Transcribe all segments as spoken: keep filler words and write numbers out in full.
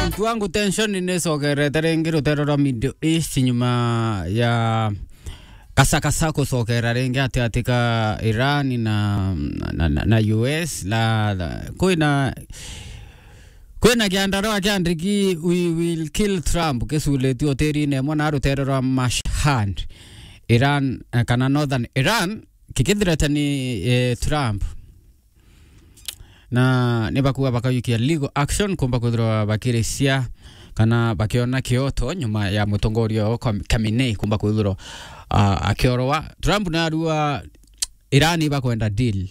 Mtu wangu, tension ni sogerete ringi ruteere rwa Middle East nyuma ya kasakasa kucokera ringi ati ati ka Iran na, na, na, na U S. La, la, kwina, kwina kiandarua kia ndigi "We will kill Trump" kiculitue hotelini imwe na ruteere rwa Mashhad, Iran, eh, kana Northern Iran, kikithireta ni, eh, Trump. Na ni bakuga bakayukia legal action kumba kwithirwa bakirisia kana bakiona kioto nyuma ya mutongoria o Kham-, Khamenei kumba kwithirwa, ah, akiorwa. Trump narua Iran ibakwenda deal.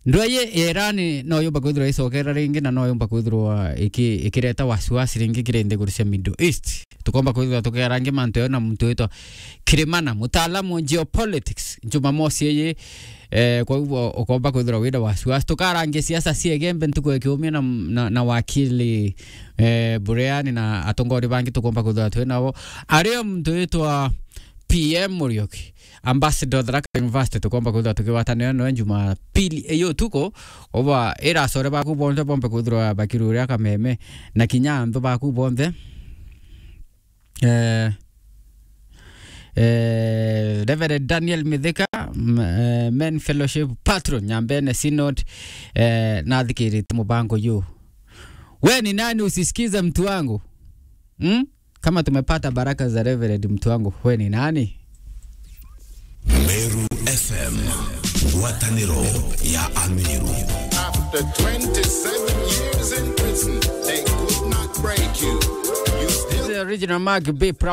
Ndweye ya Iran no yumba kwithirwa icokera ringi, na no yumba kwithirwa iki-, ikireta wasiwasi ringi kiri nthiguru cia Middle East. Tukomba kwithirwa tukiarangia mantu yo na muntu witwa Kirimana, mutaalamu wa geopolitics, Jumamosi iyi. Eh, kwa hivyo ukomba kwithirwa wina wasiwasi. Tukarangia siasa cia Igembe ntuku ya kiumia na, na, na wakili, eh, Bureani na atongori bangi tukomba kwithirwa twi nabo. Ario muntu witwa P M Muriuki, ambassador Tharaka University, tukomba kwithirwa tukigwatanira noe Jumapili iyo utuku. Uba ira acore baku bonthe bombe kwithirwa bakiruria kameme, na kinya anthu baku bonthe. Eh, eh, Reverend Daniel Mithika, m-, eh, Men Fellowship Patron, Nyambene Synod, eh, nathikirite mubango yu. We ni nani usisikize mtu wangu? Hmm? Kama tumepata baraka za Reverend, mtu wangu, we ni nani? Meru F M, ngwataniro ya Ameru. After twenty-seven years in prison, they could not break you. You still This is the original Mark B.